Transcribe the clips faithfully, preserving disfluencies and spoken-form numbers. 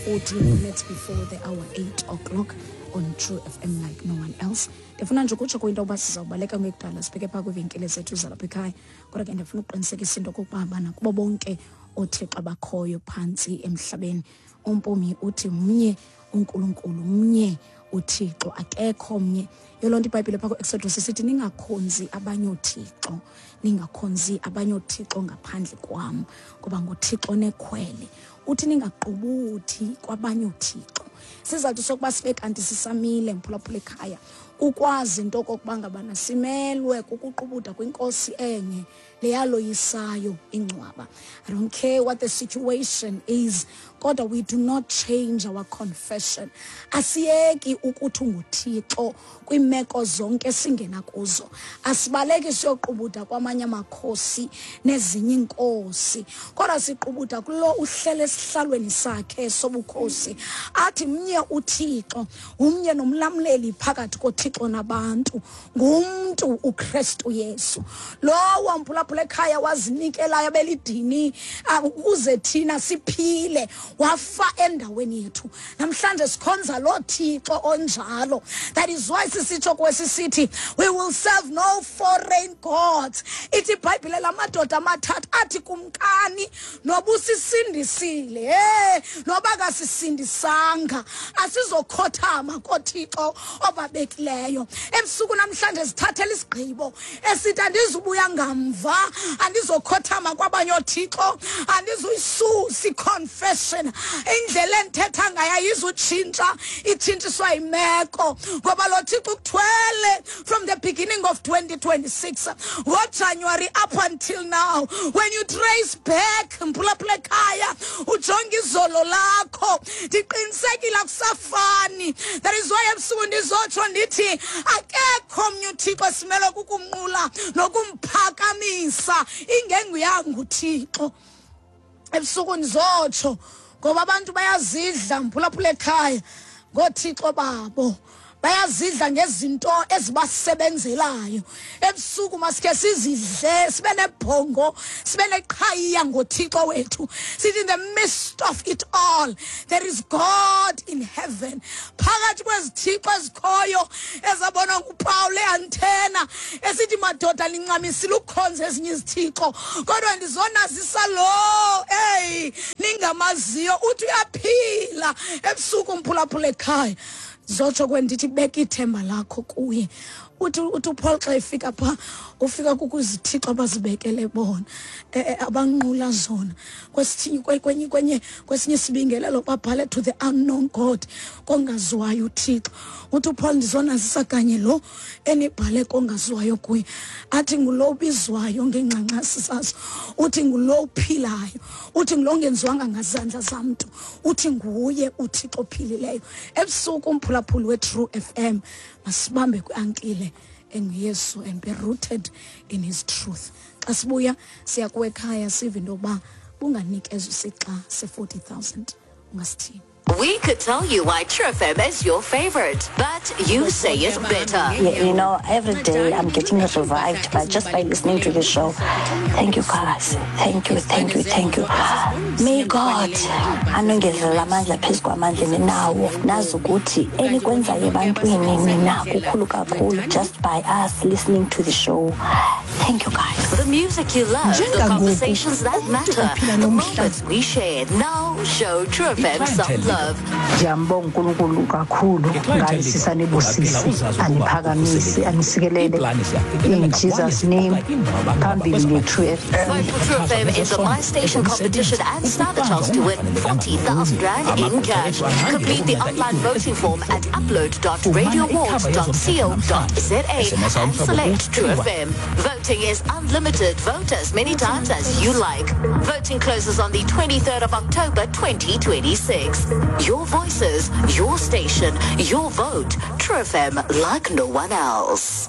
Forty minutes before the hour eight o'clock on True F M like no one else. Ndifuna nje ukutsho kwinto yokuba sizawubaleka ngekudala sibheke phaa kwiivenkile zethu zalapha ekhaya, kodwa ke ndifuna ukuqinisekisa into okokuba bana kubo bonke oothixo abakhoyo phantsi emhlabeni, uMpumi uthi mnye uNkulunkulu, mnye uThixo, akekho mnye. Yoloo nto iBhayibhile phaa ku-Exodus isithi, "Ningakhonzi abanye oothixo, ningakhonzi abanye oothixo ngaphandle kwam," ngoba nguThixo nekhwele. Uthi ningaqubuthi kwabanye oothixo. Sizathu sokuba sibe kanti sisamile, mphulaphula ekhaya, kukwazi into okokuba ngabana simelwe kukuqubuda kwinkosi enye leyaloyisayo ingcwaba. I don't care what the situation is, kodwa we do not change our confession. Asiyeki ukuthi unguThixo kwiimeko zonke esingena kuzo. Asibaleki siyoqubuda kwamanye amakhosi nezinye iinkosi, kodwa siqubuda kulo uhlele esihlalweni sakhe sobukhosi, athi mnye uThixo, umnye nomlamleli phakathi koThixo nabantu, ngumntu uKristu Yesu, lowo, mphulaphula ekhaya, wazinikelayo belidini ah, ukuze thina siphile, wafa endaweni yethu. Namhlanje sikhonza lo Thixo onjalo. That is why sisitsho kwesi sithi, "We will serve no foreign gods." Ithi iBhayibhile la madoda amathathu athi, "Kumkani, noba usisindisile, hey, noba kasisindisanga, asizokhothama koThixo obabekileyo." Ebusuku namhlanje sithathela isigqibo esithi andizubuya ngamva, andizokhothama kwabanye oothixo, andizuyisusa i-confession. Indlela endithetha ngayo ayizutshintsha itshintshiswa yimeko, ngoba lo Thixo ukuthwele from the beginning of twenty twenty-six, ngoJanuary up until now. When you trace back, mphulaphula ekhaya, ujonge izolo lakho, ndiqinisekile akusafani. That is why ebusuku ndizotsho ndithi akekho omnye uThixo esimele kukumnqula nokumphakamisa ingenguyanga uThixo. Ebusuku ndizotsho ngoba abantu bayazidla, mphulaphula ekhaya, ngoothixo babo, bayazidla ngezinto ezibasebenzelayo. Ebusuku masike sizidle, sibe nebhongo, sibe neqhayiya ngoThixo wethu, sithi in the midst of it all there is God in heaven. Phakathi kwezithixo ezikhoyo ezabonwa nguPawul eAthena esithi, "Madoda, nincamisile ukukhonza ezinye izithixo, kodwa ndizonazisa lo eyi ningamaziyo, uthi uyaphila." Ebusuku, mphulaphula ekhaya, zotsho kwendithi beka ithemba lakho kuye. uthi uthi uPaul xa efika phaa, ufika kukuzithixo abazibekele bona, eh, eh, abanqula zona. Kwesinye kwenye kwenye kwesinye isibingelelo babhale, "To the unknown God," kongaziwayo uThixo. Uthi uPaul, "Ndizonazisa kanye lo enibhale kongaziwayo kuye." Athi ngulo ubizwayo ngengxangxasi zazo, uthi ngulo uphilayo, uthi ngulo ongenziwanga ngazandla zamntu, uthi nguye uThixo ophilileyo. Ebusuku, umphulaphuli we-True F M, masibambe kwi-ankile enguYesu and be rooted in his truth. Xa sibuya siya kuwe ekhaya, sive into yokuba bunganikezwa isixa se-forty thousand, ungasithini. We could tell you why True F M is your favorite, but you say it better. Yeah, you know, every day I'm getting revived by just by listening to the show. Thank you, guys. Thank you, thank you, thank you. May God anongezelela amandla phezu kwamandla ninawo. Nazi ukuthi enikwenzayo ebantwini nina kukhulu kakhulu just by us listening to the show. Thank you, guys. The music you love, the Njengangoku, conversations that umntu matter, ophila the nomhla- moments we share. Now show True F M some love. Ndiyambonga uNkulunkulu kakhulu ngalisisa nibusise, aniphakamise, anisikelele in Jesus' name. Phambili nge-True F M. Vote for True F M in the My Station competition and stand a chance to win forty thousand rand in cash. Complete the online voting form at upload dot radioawards dot co dot za and select True F M. Voting is unlimited. Vote as many times as you like. Voting closes on the twenty-third of October twenty twenty-six. Your voices, your station, your vote. True F M like no one else.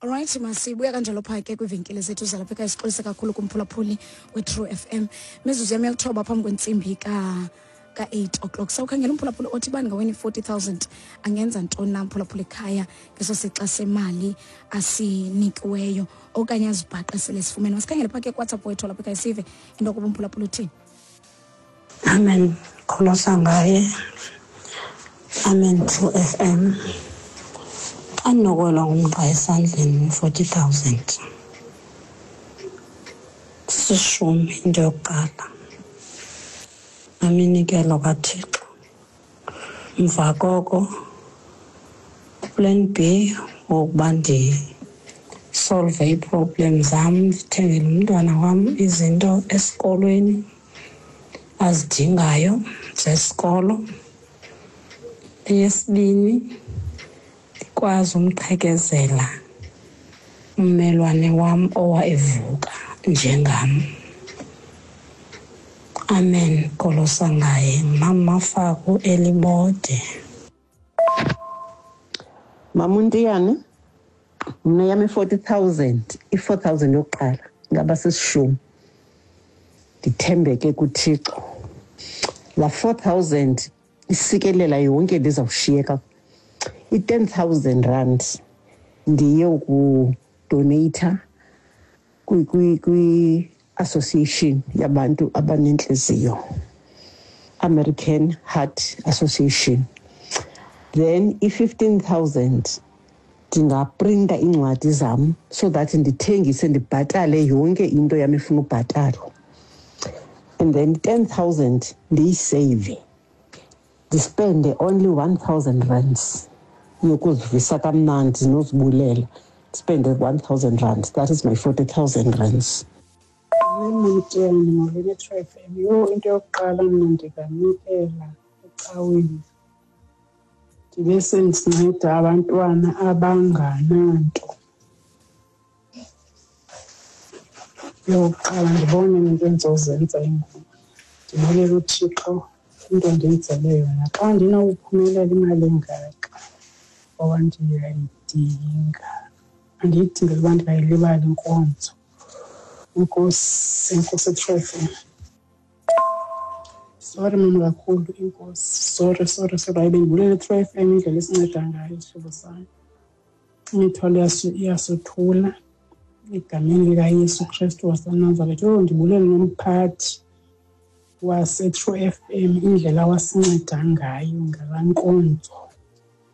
Alright, masibuya kanjalo phaa ke kwiivenkile zethu zalapha ekhaya. Sixolise kakhulu kumphulaphuli we-True F M. Mizuzu yam yalithoba phambi kwentsimbi ka ka-eight o'clock. Sawukhangela umphulaphuli othi bani ngawini forty thousand angenza ntoni na, mphulaphula ekhaya, ngeso sixa semali asinikiweyo okanye azibhaqe sele sifumene. Masikhangele phaa ke kuWhatsApp wethu lapha ekhaya, sive into yokuba umphulaphula uthini. Amen. Kholosa ngaye. Amen True F M. Xa ndinokwelwa ngumqa esandleni forty thousand. Sisishumi into yokuqala. Aminikelo kaThixo. Emva koko plan B wokuba ndisolve ii-problem zam, ndithengele umntwana wam izinto esikolweni azidingayo zesikolo. Eyesibini, ndikwazi umqhekezela ummelwane wam owa evuka njengam. Amen. Kholosa ngaye. Mama Faku eLibode. Mamuntiyane, mna yam i-forty thousand, i-four thousand yokuqala ngaba sisishumi. Ndithembeke kuThixo. La four thousand isikelela yonke ndizawushiyeka. I-ten thousand rand ndiye ukudoneyitha kwi-association yabantu abanentliziyo, American Heart Association. Then i-fifteen thousand ndingaprinta iincwadi zam so that ndithengise ndibhatale yonke into yam efuna ubhatalwa. And then ten thousand ndiyiseyive, ndispende only one thousand rands yokuzivisa kamnandi nozibulela. Spende one thousand rands. That is my forty thousand rands. Mamtiyane, molweni True F M. Yho, into yokuqala mna ndinganikela ecaweni, ndibe sendinceda abantwana abangananto. Yokuqala ndibone into endizozenza ingoma, ndibulele uThixo into ndenzele yona. Xa ndinawuphumelela imali engaka ngoba ndiyayidinga, andiyidingeli uba ndingayilibali inkonzo. Inkosi, inkosi True F M. Sorry mama kakhulu, inkosi. Sorry, sorry, sorry. Hayi, bendibulele True F M indlela esinceda ngayo isihlobo sam. Imithwalo iyasothula egameni likaYesu Kristu waseNazaretha. Yho, ndibulele nomphathi waseTrue F M indlela wasinceda ngayo ngalaa nkonzo.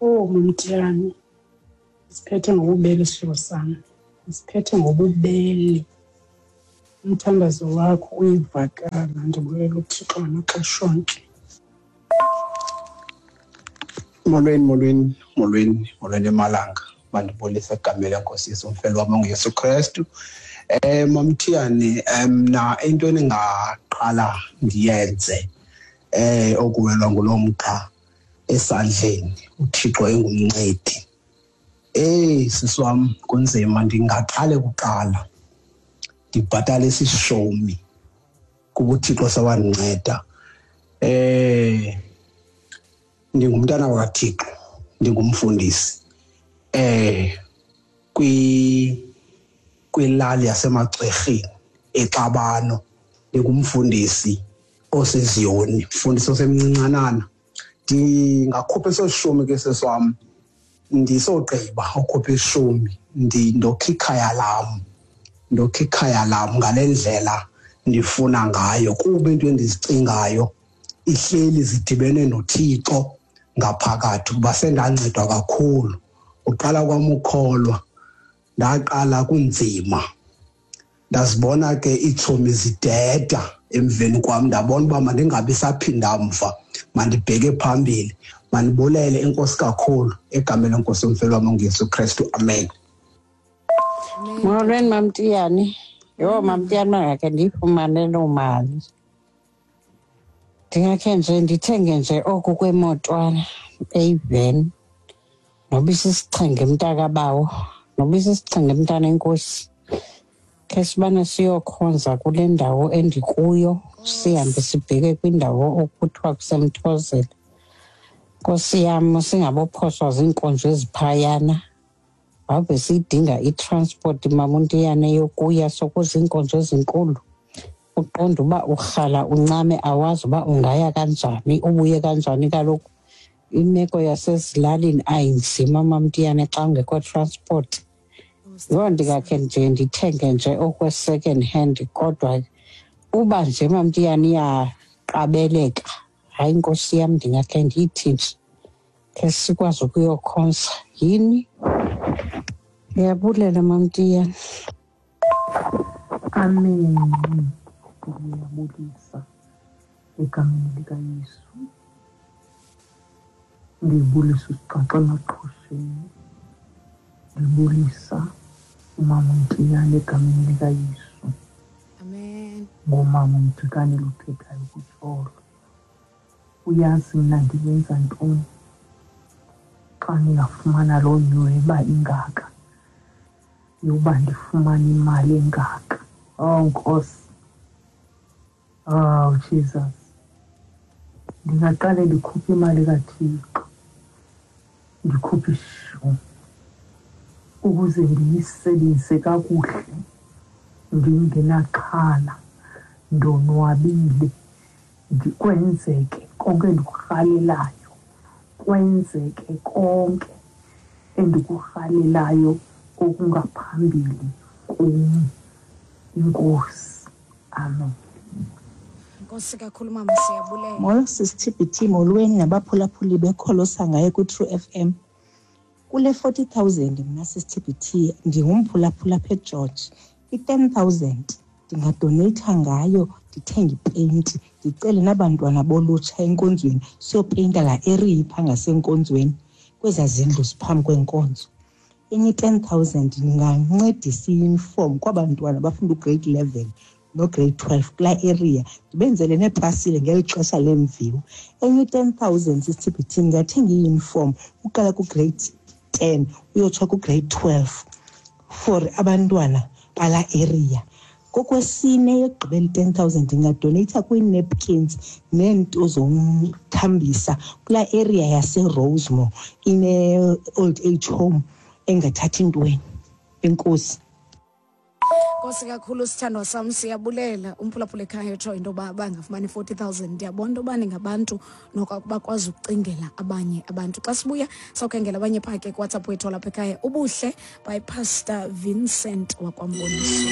Oh, Mamtiyane, siphethe ngobubele isihlobo sam, siphethe ngobubele. Umthandazo wakho uyivakala. Ndibulela uThixo ngamaxesha onke. Molweni, molweni, molweni, molweni emalanga. Mandibulise egameni leNkosi Yesu, umfeli wam onguYesu Kristu. Eh Mamtiyane, mna into endingaqala ndiyenze eh okuwelwa ngulo mqa esandleni, uThixo engumncedi. Eh sisi wam, kunzima. Ndingaqale kuqala ndibhatale isishumi kuba uThixo sewandinceda. Eh ndingumntana wakaThixo, ndingumfundisi eh kwi kwilali yaseMacwerheni eXabano. Ndingumfundisi oseziyoni, mfundisi osemncincanana. Ndingakhupha eso shumi ke sisi wam, ndisogqiba ukhupha ishumi ndokha ikhaya lam, ndokha ikhaya lam ngale ndlela ndifuna ngayo, kuba into endizicingayo ihleli zidibene noThixo ngaphakathi, kuba sendancedwa kakhulu. Uqala kwam ukholwa, ndaqala kunzima, ndazibona ke iitshomi zideda emveni kwam, ndabona uba mandingabi saphinda mva, mandibheke phambili. Mandibulele inkosi kakhulu egameni leNkosi yomfeli wam onguYesu Kristu. Amen. Molweni Mamtiyane. Yho, Mamtiyane, mangakhe ndiyifumane loo mali. Ndingakhe nje ndithenge nje oku kwemotwana eyiveni, noba isisichenge mntakabawo, noba isisichenge mntana enkosi. Khe sibane siyokhonza kule ndawo endikuyo, sihambe sibheke kwindawo okuthiwa kuseMthozela. Nkosi yam, singabophoswa ziinkonzo eziphayana. Ave siyidinga i-transport Mamuntiyane yokuya sokuza iinkonzo ezinkulu. Uqonda uba urhala uncame, awazi uba ungaya kanjani, ubuye kanjani. Kaloku imeko yasezilalini ayinzima Mamtiyane xa ungekho transport. Yho, ndingakhe nje ndithenge nje okwe-second hand, kodwa uba nje Mamtiyane iya Qabeleka. Hayi Nkosi yam, ndingakhe ndithi nje khe sikwazi ukuyokhonza. Yini? Ndiyabulela MamTiyane. Amen. Ndiyabulisa egameni likaYesu. Ndibulisa uSixaxa emaqhosheni. Ndibulisa umama uMtiyane egameni likaYesu. Amen. Ngumama uMjikane luthethayo kuTsholo. Uyazi mna ndingenza ntoni xa ndingafumana loo nyweba ingaka yoba ndifumane imali engaka. Oh Nkosi, oh Jesus, ndingaqale ndikhuphe imali kaThixo, ndikhuphe ishumi ukuze ndiyisebenzise kakuhle, ndingenaxhala, ndonwabile, ndikwenzeke konke endikurhalelayo, kwenzeke konke endikurhalelayo okungaphambili kum. Inkosi. Amen. Nkosi kakhulu mama, siyabulela. Molo sisi T B T, molweni nabaphulaphuli bekholosa ngaye ku-True F M. Kule forty thousand mna sisi T B T ndingumphulaphula apha eGeorge. I-ten thousand ndingadoneyitha ngayo ndithenge ipeyinti, ndicele nabantwana bolutsha enkonzweni siyopeyinta laa area ipha ngasenkonzweni kwezaa zindlu ziphambi kwenkonzo. Enye i-ten thousand ndingancedisa iyunifomu kwabantwana bafunda ugrade eleven nograde twelve kulaa area, ndibenzele neepasile ngeli xesha lemviwo. Enye i-ten thousand sisi T B T ndingathenga iyunifomu uqala kugrade ten uyotsho kugrade twelve for abantwana balaa area. Kokwesine yokugqibela i-ten thousand ndingadoneyitha kwii-napkins neento zomthambisa kulaa area yaseRosemore ine-old age home engathathi ntweni. Enkosi. Nkosi kakhulu sithandwa sam, siyabulela. Umphulaphula ekhaya utsho into yoba bangafumani forty thousand. Ndiyabona into yoba ningabantu noko bakwazi ukucingela abanye abantu. Xa sibuya sawukhangela abanye phaa ke kuWhatsApp wethu walapha ekhaya. Ubuhle by Pastor Vincent wakwaMboniso.